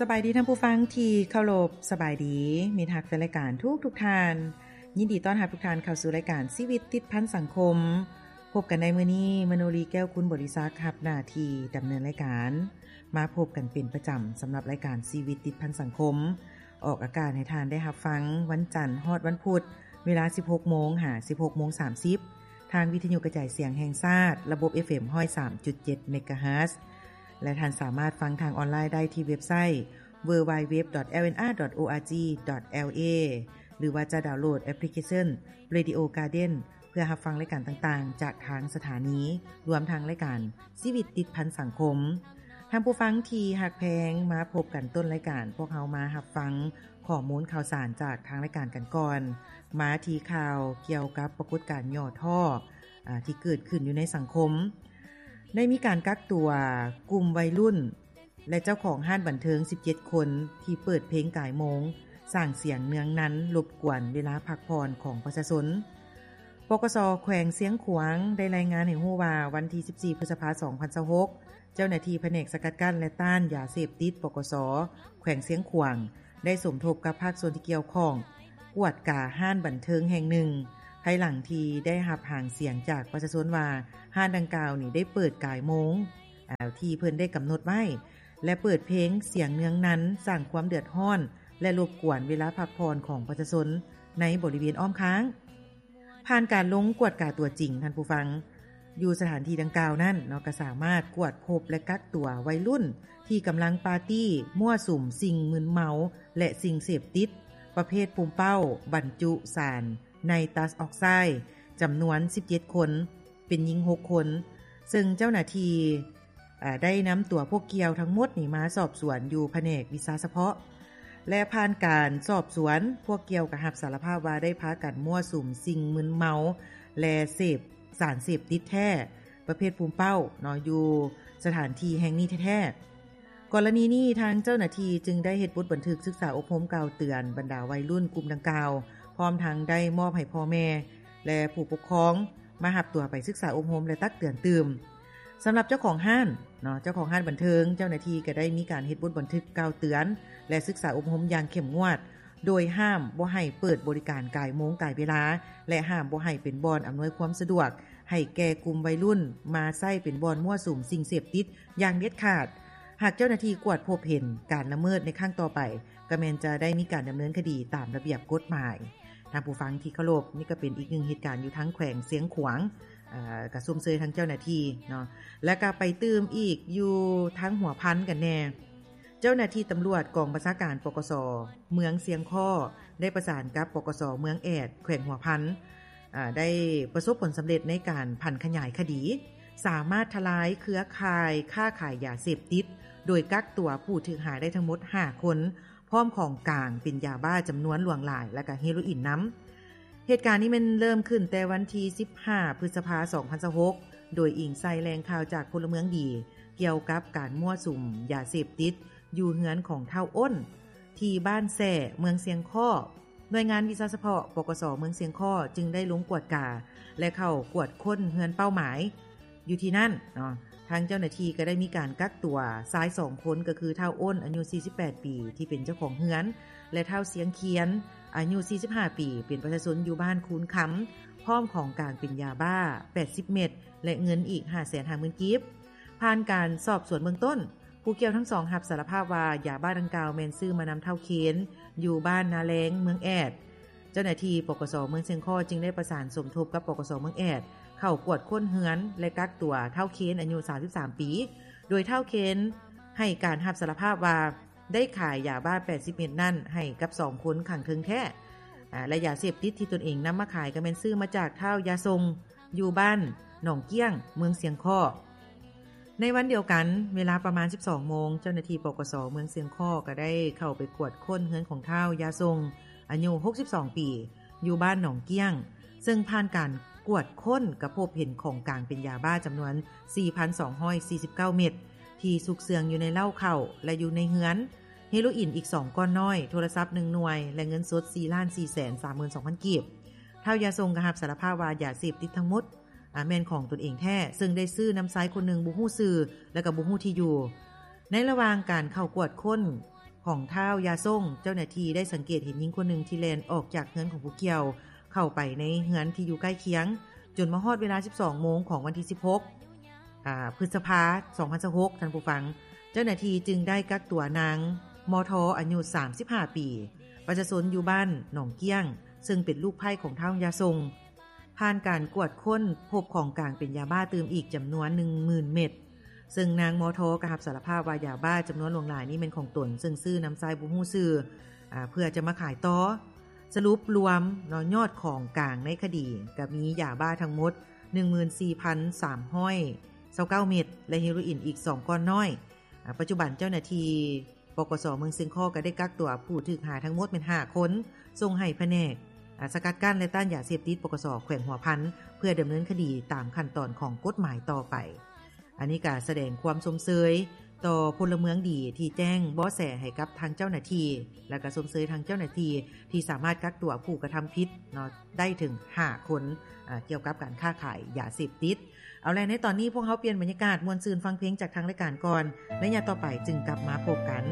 ສະບາຍດີທ່ານຜູ້ຟັງທີ່ເຄົາລົບ, ສະບາຍດີມິດຮັກແຟນລາຍການທຸກໆທ່ານ. ຍິນດີຕ້ອນຮັບທຸກທ່ານເຂົ້າສູ່ລາຍການຊີວິດຕິດພັນສັງຄົມ. ພົບກັນໃນມື້ນີ້, ມະໂນລີ ແກ້ວຄຸນບໍລິສັກ ຮັບໜ້າທີ່ດຳເນີນລາຍການ. ມາພົບກັນເປັນປະຈຳສຳລັບລາຍການຊີວິດຕິດພັນສັງຄົມ, ອອກອາກາດໃຫ້ທ່ານໄດ້ຮັບຟັງວັນຈັນຮອດວັນພຸດ ເວລາສິບຫົກໂມງຫາສິບຫົກໂມງສາມສິບ ທາງວິທະຍຸກະຈາຍສຽງແຫ່ງຊາດ ລະບົບ ເອຟເອັມ ຮ້ອຍສາມຈຸດເຈັດ ເມກາເຮີດ ແລະ ທ່ານສາມາດຟັງທາງອອນລາຍໄດ້ທີ່ເວັບໄຊ ดัບເບິນຢູ ດັບເບິນຢູ ດັບເບິນຢູ ດອດ ແອລເອັນ ອາ ດອດ ໂອ ອາ ຈີ ດອດ ແອລ ເອ ຫຼືວ່າຈະດາວໂຫຼດແອປພລິເຄຊັນ ເຣດິໂອ ກາເດັນ ເພື່ອຮັບຟັງລາຍການຕ່າງໆ ຈາກທາງສະຖານີ ລວມທັງລາຍການຊີວິດຕິດພັນສັງຄົມ. ທ່ານຜູ້ຟັງທີ່ຮັກແພງ, ມາພົບກັນຕົ້ນລາຍການ, ພວກເຮົາມາຮັບຟັງຂໍ້ມູນຂ່າວສານຈາກທາງລາຍການກັນກ່ອນ. ມາທີ່ຂ່າວກ່ຽວກັບປາກົດການຫຍໍ້ທໍ້ ອາ ທີ່ເກີດຂຶ້ນຢູ່ໃນສັງຄົມ. ໄດ້ມີການກັກຕົວກຸ່ມໄວລຸ້ນ ແລະ ເຈົ້າຂອງຮ້ານບັນເທີງສິບເຈັດຄົນ ທີ່ເປີດເພງກາຍໂມງ, ສ້າງສຽງເນືອງນັນ, ລົບກວນເວລາພັກຜ່ອນຂອງປະຊາຊົນ. ປກສ ແຂວງຊຽງຂວາງ ໄດ້ລາຍງານໃຫ້ຮູ້ວ່າ ວັນທີສິບສີ່ ພຶດສະພາ ສອງພັນຊາວຫົກ ເຈົ້າໜ້າທີ່ພະແນກສະກັດກັ້ນ ແລະ ຕ້ານຢາເສບຕິດ ປກສ ແຂວງຊຽງຂວາງ ໄດ້ສົມທົບກັບພາກສ່ວນທີ່ກ່ຽວຂ້ອງ ກວດກາຮ້ານບັນເທີງແຫ່ງໜຶ່ງ ພາຍຫຼັງທີ່ໄດ້ຮັບຫາງສຽງຈາກປະຊາຊົນວ່າ ຮ້ານດັ່ງກ່າວນີ້ໄດ້ເປີດກາຍໂມງ ອາ ທີ່ເພິ່ນໄດ້ກຳນົດໄວ້ ແລະ ເປີດເພງສຽງເນືອງນັນ, ສ້າງຄວາມເດືອດຮ້ອນ ແລະ ລົບກວນເວລາພັກຜ່ອນຂອງປະຊາຊົນໃນບໍລິເວນອ້ອມຂ້າງ. ຜ່ານການລົງກວດກາຕົວຈິງ, ທ່ານຜູ້ຟັງ, ຢູ່ສະຖານທີ່ດັ່ງກ່າວນັ້ນເນາະ ກໍສາມາດກວດພົບ ແລະ ກັກຕົວໄວລຸ້ນທີ່ກຳລັງປາຕີ້, ມົ້ວສຸມສິ່ງມຶນເມົາ ແລະ ສິ່ງເສບຕິດປະເພດປູມເປົ້າບັນຈຸສານໄນຕັສອອກໄຊ ຈຳນວນສິບເຈັດຄົນ, ເປັນຍິງຫົກຄົນ, ເຊິ່ງເຈົ້າໜ້າທີ່ ອາ ໄດ້ນຳຕົວພວກກ່ຽວທັງໝົດນີ້ມາສອບສວນຢູ່ພະແນກວິຊາສະເພາະ ແລະ ຜ່ານການສອບສວນ, ພວກກ່ຽວກໍຮັບສາລະພາບວ່າໄດ້ພາກັນມົ້ວສຸມສິ່ງມຶນເມົາ ແລະ ເສບສານເສບຕິດແທ້ ປະເພດປູມເປົ້າເນາະ ຢູ່ສະຖານທີ່ແຫ່ງນີ້ແທ້ໆ. ກໍລະນີນີ້ ທາງເຈົ້າໜ້າທີ່ຈຶ່ງໄດ້ເຮັດບົດບັນທຶກສຶກສາອົບຮົມກ່າວເຕືອນບັນດາໄວລຸ້ນກຸ່ມດັ່ງກ່າວ, ພ້ອມທັງໄດ້ມອບໃຫ້ພໍ່ແມ່ ແລະ ຜູ້ປົກຄອງມາຮັບຕົວໄປສຶກສາອົບຮົມ ແລະ ຕັກເຕືອນຕື່ມ. ສຳລັບເຈົ້າຂອງຮ້ານເນາະ, ເຈົ້າຂອງຮ້ານບັນເທີງ, ເຈົ້າໜ້າທີ່ກໍໄດ້ມີການເຮັດບົດບັນທຶກກ່າວເຕືອນ ແລະ ສຶກສາອົບຮົມຢ່າງເຂັ້ມງວດ, ໂດຍຫ້າມບໍ່ໃຫ້ເປີດບໍລິການກາຍໂມງກາຍເວລາ ແລະ ຫ້າມບໍ່ໃຫ້ເປັນບ່ອນອຳນວຍຄວາມສະດວກໃຫ້ແກ່ກຸ່ມໄວລຸ້ນມາໃຊ້ເປັນບ່ອນມົ້ວສຸມສິ່ງເສບຕິດຢ່າງເດັດຂາດ. ຫາກເຈົ້າໜ້າທີ່ກວດພົບເຫັນການລະເມີດໃນຄັ້ງຕໍ່ໄປ, ກໍແມ່ນຈະໄດ້ມີການດຳເນີນຄະດີຕາມລະບຽບກົດໝາຍ. ທ່ານຜູ້ຟັງທີ່ເຄົາລົບ, ນີ້ກໍເປັນອີກໜຶ່ງເຫດການຢູ່ທາງແຂວງຊຽງຂວາງ, ເອີ ກໍຊົມເຊີຍທາງເຈົ້າໜ້າທີ່ເນາະ. ແລ້ວກໍໄປຕື່ມອີກຢູ່ທາງຫົວພັນກັນແດ່. ເຈົ້າໜ້າທີ່ຕຳຫຼວດກອງບັນຊາການ ປກສ ເມືອງຊຽງຄໍ້ ໄດ້ປະສານກັບ ປກສ ເມືອງແອດ ແຂວງຫົວພັນ, ອາ ໄດ້ປະສົບຜົນສຳເລັດໃນການຜັນຂະຫຍາຍຄະດີ, ສາມາດທະລາຍເຄືອຂ່າຍຄ້າຂາຍຢາເສບຕິດ ໂດຍກັກຕົວຜູ້ຖືກຫາໄດ້ທັງໝົດຫ້າຄົນ, ພ້ອມຂອງກາງເປັນຢາບ້າຈຳນວນຫຼວງຫຼາຍ ແລະ ກະເຮໂຣອີນນຳ. ເຫດການນີ້ແມ່ນເລີ່ມຂຶ້ນແຕ່ວັນທີສິບຫ້າ ພຶດສະພາ ສອງພັນຊາວຫົກ ໂດຍອີງໃສ່ແຫຼ່ງຂ່າວຈາກພົນລະເມືອງດີ ກ່ຽວກັບການມົ້ວສຸມຢາເສບຕິດຢູ່ເຮືອນຂອງທ້າວອ້ນ ທີ່ບ້ານແຊ ເມືອງຊຽງຄໍ້. ໜ່ວຍງານວິຊາສະເພາະ ປກສ ເມືອງຊຽງຄໍ້ ຈຶ່ງໄດ້ລົງກວດກາ ແລະ ເຂົ້າກວດຄົ້ນເຮືອນເປົ້າໝາຍ ຢູ່ທີ່ນັ້ນເນາະ, ທາງເຈົ້າໜ້າທີ່ກໍໄດ້ມີການກັກຕົວຊາຍສອງຄົນ ກໍຄືທ້າວອ້ນ ອາຍຸສີ່ສິບແປດປີ ທີ່ເປັນເຈົ້າຂອງເຮືອນ ແລະ ທ້າວຊຽງຄຽນ ອາຍຸສີ່ສິບຫ້າປີ ເປັນປະຊາຊົນຢູ່ບ້ານຄູນຄຳ, ພ້ອມຂອງກາງເປັນຢາບ້າແປດສິບເມັດ ແລະ ເງິນອີກຫ້າແສນຫ້າໝື່ນກີບ. ຜ່ານການສອບສວນເບື້ອງຕົ້ນ, ຜູ້ກ່ຽວທັງສອງຮັບສາລະພາບວ່າ ຢາບ້າດັ່ງກ່າວແມ່ນຊື້ມານຳທ້າວເຄນ ຢູ່ບ້ານນາແລງ ເມືອງແອດ. ເຈົ້າໜ້າທີ່ ປກສ ເມືອງຊຽງຄໍ້ ຈຶ່ງໄດ້ປະສານສົມທົບກັບ ປກສ ເມືອງແອດ ເຂົ້າກວດຄົ້ນເຮືອນ ແລະ ກັກຕົວທ້າວເຄນ ອາຍຸສາມສິບສາມປີ, ໂດຍທ້າວເຄນໃຫ້ການຮັບສາລະພາບວ່າ ໄດ້ຂາຍຢາບ້າແປດສິບເມັດນັ້ນໃຫ້ກັບສອງຄົນຂ້າງເທິງແທ້ ອາ ແລະ ຢາເສບຕິດທີ່ຕົນເອງນຳມາຂາຍ ກໍແມ່ນຊື້ມາຈາກທ້າວຢາຊົງ ຢູ່ບ້ານໜອງກ້ຽງ ເມືອງຊຽງຄໍ້. ໃນວັນດຽວກັນ, ເວລາປະມານສິບສອງໂມງ, ເຈົ້າໜ້າທີ່ ປກສ ເມືອງຊຽງຄໍ້ ກໍໄດ້ເຂົ້າໄປກວດຄົ້ນເຮືອນຂອງທ້າວຢາຊົງ ອາຍຸຫົກສິບສອງປີ ຢູ່ບ້ານໜອງກ້ຽງ, ເຊິ່ງຜ່ານການກວດຄົ້ນກໍພົບເຫັນຂອງກາງເປັນຢາບ້າຈຳນວນສີ່ພັນສອງຮ້ອຍສີ່ສິບເກົ້າເມັດ ທີ່ຊຸກເຊື່ອງຢູ່ໃນເລົ້າເຂົ້າ ແລະ ຢູ່ໃນເຮືອນ, ເຮໂຣອີນອີກສອງກ້ອນນ້ອຍ, ໂທລະສັບໜຶ່ງໜ່ວຍ ແລະ ເງິນສົດສີ່ລ້ານສີ່ແສນສາມໝື່ນສອງພັນກີບ. ທ້າວຢາຊົງກໍຮັບສາລະພາບວ່າຢາເສບຕິດທັງໝົດ ອາ ແມ່ນຂອງຕົນເອງແທ້, ເຊິ່ງໄດ້ຊື້ນຳຊາຍຄົນໜຶ່ງບໍ່ຮູ້ຊື່ ແລະ ກໍບໍ່ຮູ້ທີ່ຢູ່. ໃນລະຫວ່າງການເຂົ້າກວດຄົ້ນ ຂອງທ້າວຢາຊົງ, ເຈົ້າໜ້າທີ່ໄດ້ສັງເກດເຫັນຍິງຄົນໜຶ່ງທີ່ແລ່ນອອກຈາກເຮືອນຂອງຜູ້ກ່ຽວ ເຂົ້າໄປໃນເຮືອນທີ່ຢູ່ໃກ້ຄຽງ, ຈົນມາຮອດເວລາສິບສອງໂມງຂອງວັນທີສິບຫົກ ອ່າ ພຶດສະພາ ສອງພັນຊາວຫົກ ທ່ານຜູ້ຟັງ, ເຈົ້າໜ້າທີ່ຈຶ່ງໄດ້ກັກຕົວນາງ ມທ ອາຍຸສາມສິບຫ້າປີ ປະຊາຊົນຢູ່ບ້ານໜອງກ້ຽງ ເຊິ່ງເປັນລູກໃພ້ຂອງທ້າວຢາຊົງ. ຜ່ານການກວດຄົ້ນ ພົບຂອງກາງເປັນຢາບ້າຕື່ມອີກຈຳນວນໜຶ່ງໝື່ນເມັດ, ເຊິ່ງນາງ ມທ ກໍຮັບສາລະພາບວ່າຢາບ້າຈຳນວນຫຼວງຫຼາຍນີ້ແມ່ນຂອງຕົນ ເຊິ່ງຊື້ນຳຊາຍບໍ່ຮູ້ຊື່ ອາ ເພື່ອຈະມາຂາຍຕໍ່. ສະຫຼຸບລວມເນາະ ຍອດຂອງກາງໃນຄະດີກໍມີຢາບ້າທັງໝົດໜຶ່ງໝື່ນສີ່ພັນສາມຮ້ອຍຊາວເກົ້າເມັດ ແລະ ເຮໂຣອີນອີກສອງກ້ອນນ້ອຍ. ອາ ປັດຈຸບັນເຈົ້າໜ້າທີ່ ປກສ ເມືອງຊຽງຄໍ້ກໍໄດ້ກັກຕົວຜູ້ຖືກຫາທັງໝົດແມ່ນຫ້າຄົນ ສົ່ງໃຫ້ພະແນກ ອາ ສະກັດກັ້ນ ແລະ ຕ້ານຢາເສບຕິດ ປກສ ແຂວງຫົວພັນ ເພື່ອດຳເນີນຄະດີຕາມຂັ້ນຕອນຂອງກົດໝາຍຕໍ່ໄປ. ອັນນີ້ກໍສະແດງຄວາມຊົມເຊີຍຕໍ່ພົນລະເມືອງດີທີ່ແຈ້ງເບາະແສໃຫ້ກັບທາງເຈົ້າໜ້າທີ່ ແລະ ກໍຊົມເຊີຍທາງເຈົ້າໜ້າທີ່ທີ່ສາມາດກັກຕົວຜູ້ກະທຳຜິດເນາະ ໄດ້ເຖິງຫ້າຄົນ ອາ ກ່ຽວກັບການຄ້າຂາຍຢາເສບຕິດ. ເອົາແລະ ໃນຕອນນີ້ພວກເຮົາປ່ຽນບັນຍາກາດມ່ວນຊື່ນຟັງເພງຈາກທາງລາຍການກ່ອນ, ໄລຍະຕໍ່ໄປຈຶ່ງກັບມາພົບກັນ.